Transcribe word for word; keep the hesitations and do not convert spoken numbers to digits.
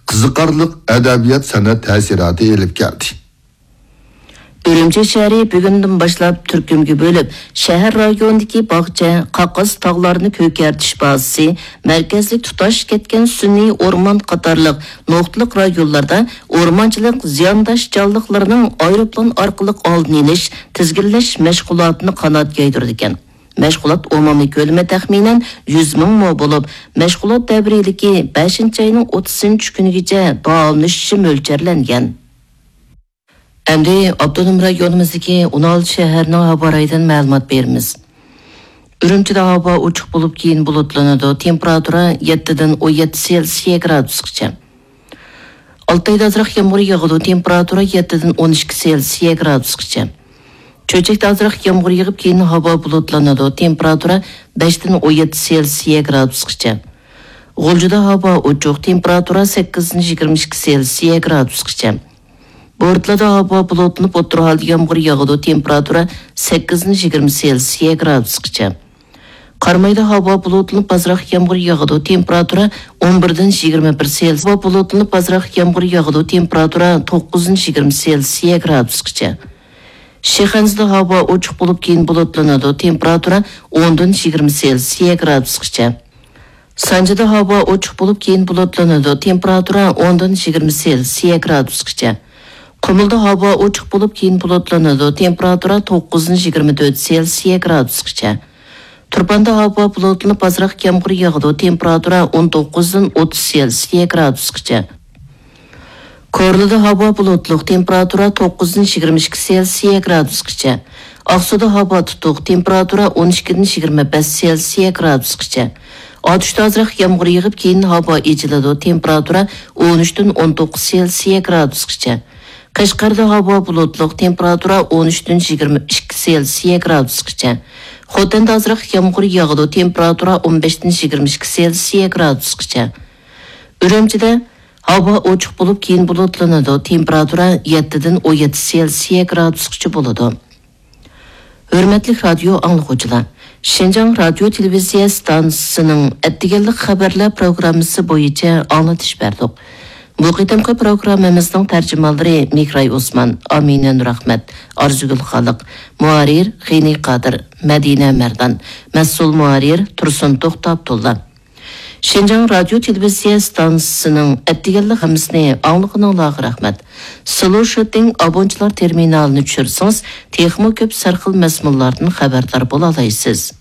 قىزىقارلىق ئەدەبىيات-سەنئەت تەسىراتى ئېلىپ كەلدى. ئۈرۈمچى شەھىرى بۈگۈندىن باشلاپ تۈركۈمگە بۆلۈپ، شەھەر رايونىدىكى باغچە، قاقاس تاغلارنى كۆكەرتىش بازىسى، مەركەزلىك تۇتاش كەتكەن سۈنئىي ئورمان قاتارلىق نۇقتىلىق رايونلاردا ئورمانچىلىق زىيانداش جانلىقلىرىنىڭ ئايروپىلان ئارقىلىق ئالدىنى ئېلىش، تىزگىنلەش مەشغۇلاتىنى قانات يايدۇرىدىكەن. مەشغۇلات ئومۇمىي كۆلىمى تەخمىنەن يۈز مىڭ مو بولۇپ، مەشغۇلات دەۋرىيلىكى بەشىنچى ئاينىڭ ئوتتۇزىنچى كۈنىگىچە داۋاملىشىشى مۆلچەرلەنگەن. ئەمدى ئاپتونوم رايونىمىزدىكى ئون ئالتە شەھەرنىڭ ھاۋا رايىدىن مەلۇمات بېرىمىز. ئۈرۈمچىدە ھاۋا ئوچۇق بولۇپ، كېيىن بۇلۇتلىنىدۇ. تېمپېراتۇرا يەتتىدىن ئون يەتتە سېلسىيە گرادۇسقىچە. ئالتايدا ئازراق يامغۇر ياغىدۇ. تېمپېراتۇرا يەتتىدىن ئون ئىككى سېلسىيە گرادۇسقىچە. چۆچەكتە ئازراق يامغۇر يېغىپ، كېيىن ھاۋا بۇلۇتلىنىدۇ. تېمپېراتۇرا بەشتىن ئون يەتتە سېلسىيە گرادۇسقىچە. غۇلجىدا ھاۋا ئوچۇق. تېمپېراتۇرا سەككىزدىن يىگىرمە ئىككى سېلسىيە گرادۇسقىچە. بورتالادا ھاۋا بۇلۇتلىنىپ، ئوتتۇرا ھالدا يامغۇر ياغىدۇ. تېمپېراتۇرا سەككىزدىن يىگىرمە سېلسىيە گرادۇسقىچە. قارامايدا ھاۋا بۇلۇتلىنىپ، ئازراق يامغۇر ياغىدۇ. تېمپېراتۇرا ئون بىردىن يىگىرمە بىر سېلسىيە. ھاۋا بۇلۇتلىنىپ، ئازراق يامغۇر ياغىدۇ. تېمپېراتۇرا توققۇزدىن يىگىرمە سېلسىيە گرادۇسقىچە. شىخەنزىدە ھاۋا ئوچۇق بولۇپ، كېيىن بۇلۇتلىنىدۇ. تېمپېراتۇرا ئوندىن يىگىرمە سېلسىيە گرادۇسقىچە. سانجىدا ھاۋا ئوچۇق بولۇپ، كېيىن بۇلۇتلىنىدۇ. تېمپېراتۇرا ئوندىن يىگىرمە سېلسىيە گرادۇسقىچە. قۇمۇلدا ھاۋا ئوچۇق بولۇپ، كېيىن بۇلۇتلىنىدۇ. تېمپېراتۇرا توققۇزدىن يىگىرمە تۆت سېلسىيە گرادۇسقىچە. تۇرپاندا ھاۋا بۇلۇتلىنىپ، ئازراق يامغۇر ياغىدۇ. تېمپېراتۇرا ئون توققۇزدىن ئوتتۇز سېلسىيە گرادۇسقىچە. كورلىدا ھاۋا بۇلۇتلۇق، تېمپېراتۇرا توققۇزدىن يىگىرمە ئىككى سېلسىيە گرادۇسقىچە. ئاقسۇدا ھاۋا تۇتۇق، تېمپېراتۇرا ئون ئىككىدىن يىگىرمە بەش سېلسىيە گرادۇسقىچە. ئاتۇشتا ئازراق يامغۇر يېغىپ، كېيىن ھاۋا ئېچىلىدۇ، تېمپېراتۇرا ئون ئۈچتىن ئون توققۇز سېلسىيە گرادۇسقىچە. قەشقەردە ھاۋا بۇلۇتلۇق، تېمپېراتۇرا ئون ئۈچتىن يىگىرمە ئىككى سېلسىيە گرادۇسقىچە. خوتەندە ئازراق يامغۇر ياغىدۇ، تېمپېراتۇرا ئون بەشتىن يىگىرمە ئىككى سېلسىيە گرادۇسقىچە. ئۈرۈمچىدە ھاۋا ئوچۇق بولۇپ، كېيىن بۇلۇتلىنىدۇ. تېمپېراتۇرا يەتتىدىن ئون يەتتە سېلسىيە گرادۇسقىچە بولىدۇ. ھۆرمەتلىك رادىيو ئاڭلىغۇچىلار، شىنجاڭ رادىيو تېلېۋىزىيە ئىستانسىسىنىڭ ئەتىگەنلىك خەۋەرلەر پروگراممىسى بويىچە ئاڭلىتىش بەردۇق. بۇ قېتىمقى پروگراممىمىزنىڭ تەرجىمانلىرى مىكراي ئوسمان، ئامىنە نۇرئەخمەت، ئارزۇگۈل خالىق، مۇھەررىر غېنى قادىر، مەدىنە مەردان، مەسئۇل مۇھەررىر تۇرسۇن توختى ئابدۇللا. شىنجاڭ رادىيو تېلېۋىزىيە ئىستانسىسىنىڭ ئەتىگەنلىك خەۋىرىنى ئاڭلىغىنىڭلارغا رەھمەت. سلوشىتىڭ ئابونچىلار تېرمىنالىنى چۈشۈرسىڭىز، تېخىمۇ كۆپ سەرخىل مەزمۇنلاردىن خەۋەردار بولالايسىز.